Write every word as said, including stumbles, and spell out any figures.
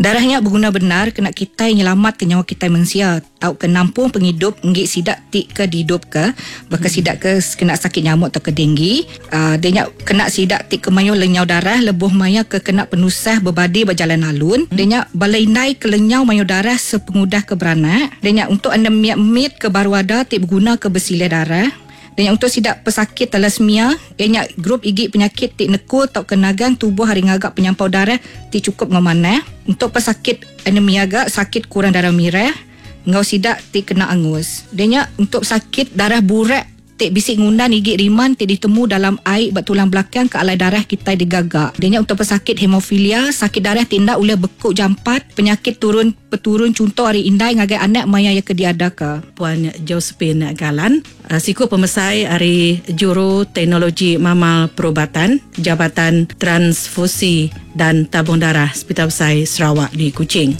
Darah nya beguna bendar kena kitai nyelamatka nyawa kitai mensia tauka nampung pengidup enggi sida ti ke diidupka baka sida ke kena sakit nyamuk tauka denggi. Uh, dia nya kena sida ti ke mayuh lenyau darah lebuh maya ke kena penusah bebadi ba jalan alun. Dia nya bala indai ke lenyau mayuh darah sepengudah ke beranak. Dia nya untuk anemia mit ke baru ada ti beguna ke besilih darah. Dan yang untuk sidak pesakit thalassemia, ia nya grup igi penyakit ti nekul tauka nagang tubuh hari ngagak penyampau darah ti cukup ngemanah. Untuk pesakit anemia gak sakit kurang darah merah, ngau sidak ti kena angus. Dan nya untuk sakit darah burak ti bisi ngundan igi riman ti ditemu dalam air bak tulang belakang ke alai darah kita digagak. Dia nya untuk pesakit hemofilia, sakit darah tindak oleh bekuk jampat, penyakit turun peturun contoh hari indai ngagai anak maya yang ke diadaka. Puan Josephine Galan, siku pemesai hari Juru Teknologi Mamal Perubatan, Jabatan Transfusi dan Tabung Darah Hospital Besai Sarawak di Kuching.